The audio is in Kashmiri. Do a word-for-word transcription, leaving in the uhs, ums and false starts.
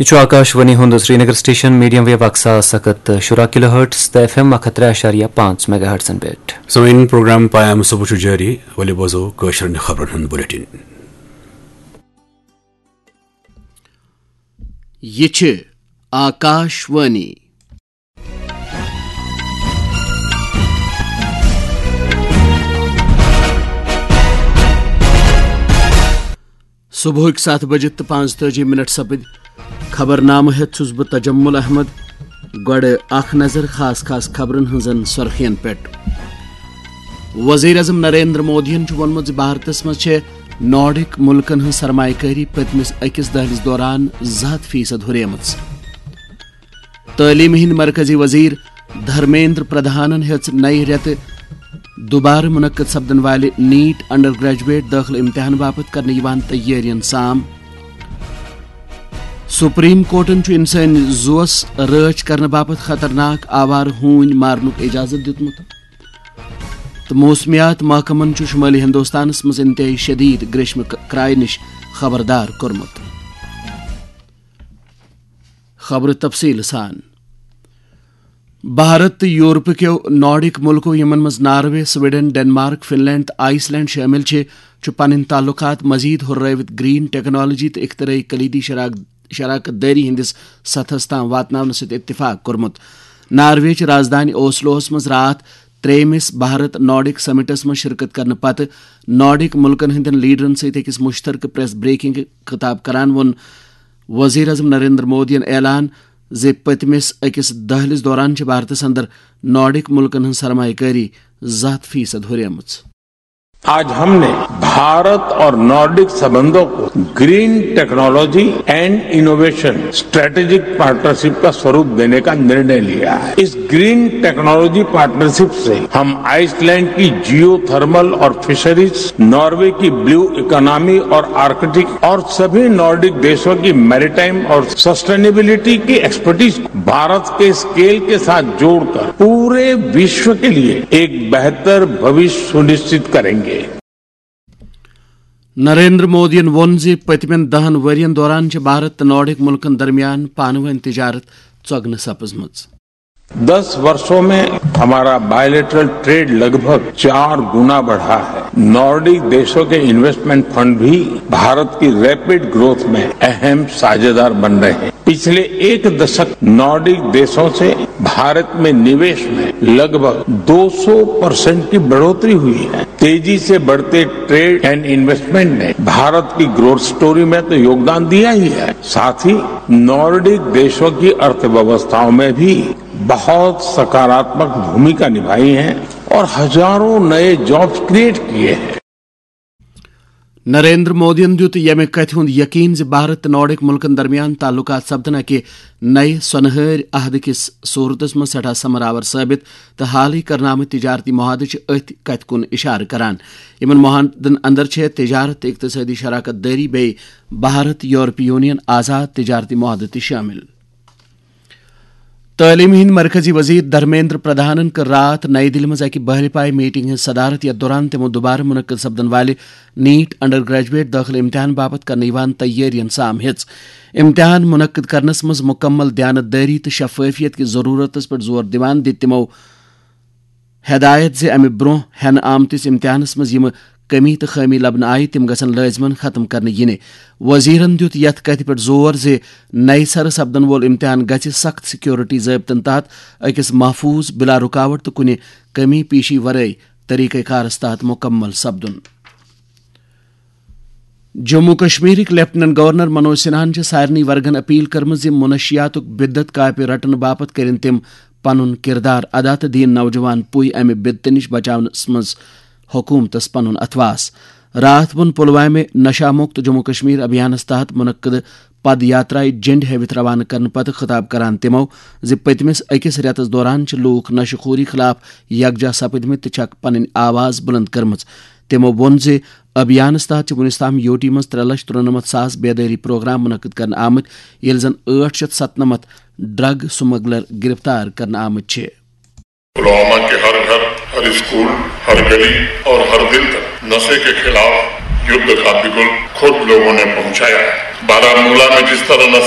یہِ چھُ آکاش وانی ہُنٛد سرینگر سٹیشن، میڈیم ویو اکھ ساس اکھ ہتھ تہٕ شُراہ کِلو ہرٹز تہٕ ایف ایم اکھ ہتھ ترٛےٚ اعشاریہ پانٛژھ میگا ہرٹزن پٮ۪ٹھ۔ سٲنۍ پروگرام پیام صبح چھُ جٲری، ؤلِو بوزو کٲشرٮ۪ن خبرن ہُنٛد بلیٹن۔ یہِ چھِ آکاش وانی۔ صبحٕکۍ ستھ بجہِ تہٕ پانٛژتٲجی منٹ سپٕدۍ۔ خبرنامہٕ ہٮ۪تھ چھُس بہٕ تجمل احمد۔ گۄڈٕ اکھ نظر خاص خاص خبرن ہٕنٛزن سرخین پٮ۪ٹھ۔ وزیر اعظم نریندر مودیَن چھُ ووٚنمُت زِ بھارتس منٛز چھےٚ نارڈک مُلکن ہٕنٛز سرمایہ کٲری پٔتمِس أکِس دٔہلِس دوران زٕ ہتھ فیصد ہُریمٕژ۔ تعلیمہِ ہٕنٛدۍ مرکزی وزیر دھرمیندر پردھانن ہیٚژ نَیہِ رٮ۪تہٕ دُبارٕ منعقد سپدن والہِ نیٹ انڈر گریجویٹ دٲخلہٕ امتحان باپتھ کرنہٕ یِوان تیٲرین سام۔ سپریم کورٹن چھُ انسٲنی زُوس رٲچھ کرنہٕ باپتھ خطرناک آوارٕ ہوٗنۍ مارنُک اجازت دیُتمُت۔ تہٕ موسمیات محکمن چھُ شمٲلی ہندوستانس منٛز انتہٲئی شدید گریشمہٕ ک-، کرایہِ نِش خبردار کوٚرمُت۔ خبرٕ تفصیٖل سان۔ بھارت تہٕ یورپہٕ کیو نارڈک مُلکو، یِمن منٛز Norway, Sweden, Denmark, Finland تہٕ آئس لینڈ شٲمِل چھِ، چھُ پنٕنۍ تعلقات مزید ہُررٲوِتھ گرین ٹیکنالوجی تہٕ اختراعی کلیدی شراک-، شراکت دٲری ہٕنٛدِس سطحس تام واتناونہٕ سۭتۍ اتفاق کوٚرمُت۔ ناروے چہِ رازدٲنۍ اوسلوہس منٛز راتھ ترٛیٚیمِس بھارت نارڈک سمٹس منٛز شرکت کرنہٕ پتہٕ نارڈک مُلکن ہٕنٛدٮ۪ن لیڈرن سۭتۍ أکِس مُشترکہٕ پریس بریفنگ خطاب کران ووٚن وزیر اعظم نریندر مودیَن اعلان زِ پٔتمِس أکِس دٔہلِس دوران چھِ بھارتس اندر نارڈک مُلکن ہٕنٛز سرمایہ کٲری زٕ ہتھ فیصد ہُریمٕژ۔ آج ہم نے بھارت اور نارڈک سبندوں کو green technology and innovation strategic partnership کا स्वरूप देने का निर्णय लिया है। इस ग्रीन टेक्नोलॉजी पार्टनरशिप से हम आइसलैंड की जियोथर्मल और फिशरीज, नॉर्वे की ब्लू इकोनॉमी और आर्कटिक और सभी नॉर्डिक देशों की मैरीटाइम और सस्टेनेबिलिटी की एक्सपर्टीज को भारत के स्केल के साथ जोड़कर पूरे विश्व के लिए एक बेहतर भविष्य सुनिश्चित करेंगे। نریندر مودیَن ووٚن زِ پٔتمٮ۪ن دَہَن ؤرۍ یَن دوران چھِ بھارت تہٕ نارڈک مُلکَن درمیان پانہٕ ؤنۍ تجارت ژۄگنہٕ سپٕزمٕژ۔ दस वर्षों में हमारा बायलैटरल ट्रेड लगभग चार गुना बढ़ा है। नॉर्डिक देशों के इन्वेस्टमेंट फंड भी भारत की रैपिड ग्रोथ में अहम साझेदार बन रहे हैं। पिछले एक दशक नॉर्डिक देशों से भारत में निवेश में लगभग दो सौ परसेंट की बढ़ोतरी हुई है। तेजी से बढ़ते ट्रेड एंड इन्वेस्टमेंट ने भारत की ग्रोथ स्टोरी में तो योगदान दिया ही है, साथ ही नॉर्डिक देशों की अर्थव्यवस्थाओं में भी बहुत सकारात्मक भूमिका निभाई है और हजारों नए जॉब्स क्रिएट किए हैं। نریندر مودیَن دیُت ییٚمہِ کتھِ ہُنٛد یقین زِ بھارت تہٕ نارڈک مُلکَن درمیان تعلقات سپدن اکہِ نَیہِ سۄنہٕ ہٲرۍ عہدٕ کِس صورتس منٛز سٮ۪ٹھاہ ثمر آور ثٲبت تہٕ حالٕے کرنہٕ آمٕتۍ تجارتی معاہدٕ چھِ أتھۍ کتھِ کُن اِشارٕ کران۔ یِمَن معاہدن اندر چھِ تجارت تہٕ اقتصٲدی شراکت دٲری بیٚیہِ بھارت یورپی یونین آزاد تجارتی معاہدٕ تہِ شٲمِل۔ تعلیمہِ ہٕنٛدۍ مرکزی وزیر دھرمیندر پردھانن کٔر راتھ نئی دِلہِ منٛز اکہِ بحرِ پایہِ میٹنگ ہٕنٛز صدارت، یتھ دوران تِمو دُبارٕ منعقد سپدن والہِ نیٹ انڈر گریجویٹ دٲخلہٕ امتحان باپتھ کرنہٕ یِوان تیٲرین سام ہیٚژ۔ امتحان منعقد کرنس منٛز مکمل دیانتدٲری تہٕ شفافیت کِس ضرورتس پٮ۪ٹھ زور دِوان دِتۍ تِمو ہدایت زِ امہِ برونٛہہ ہٮ۪نہٕ آمتِس امتحانس منٛز یِمہٕ کمی تہٕ خٲمی لبنہٕ آیہِ، تِم گژھن لٲزمن ختم کرنہٕ یِنہِ۔ وزیرن دِیُت یتھ کتھِ پٮ۪ٹھ زور زِ نَیہِ سرٕ سپدن وول امتحان گژھِ سخت سیکورٹی ضٲبطن تحت أکِس محفوظ، بلا رکاوٹ تہٕ کُنہِ کمی پیشی ورٲے طریقہ کارس تحت مکمل سپدُن۔ جموں کشمیرٕکۍ لیفٹیننٹ گورنر منوج سنہاہن چھِ سارنٕے ورگن اپیل کٔرمٕژ زِ منشیاتُک بدعت کاپہِ رٹنہٕ باپتھ کٔرِن تِم پنُن کردار ادا تہٕ دِیِن نوجوان پُے امہِ بدعتہٕ نِش بچاونس منٛز حکومتس پنُن اتھواس۔ راتھ ووٚن پلوامہِ نشہ مکت جموں کشمیر ابھیانس تحت منعقد پد یاترایہِ جنڈ ہٲوِتھ روانہٕ کرنہٕ پتہٕ خطاب کران تِمو زِ پٔتمِس أکِس رٮ۪تس دوران چھِ لوٗکھ نشہٕ خوری خلاف یکجاہ سپٕدمٕتۍ تہٕ چھکھ پنٕنۍ آواز بلند کٔرمٕژ۔ تِمو ووٚن زِ ابھیانس تحت چھِ وُنیُس تام یوٗ ٹی منٛز ترٛےٚ لچھ ترُنمتھ ساس بیدٲری پروگرام منعقد کرنہٕ آمٕتۍ، ییٚلہِ زن ٲٹھ شیٚتھ ستنمتھ ڈرگ سمگلر گرفتار کرنہٕ آمٕتۍ چھِ۔ پلوامہ کے ہر گھر، ہر اسکول، ہر گلی اور ہر دل تک نشے کے خلاف یدھ کا بگل خود لوگوں نے پہنچایا ہے۔ بارامولہ میں جس طرح نشے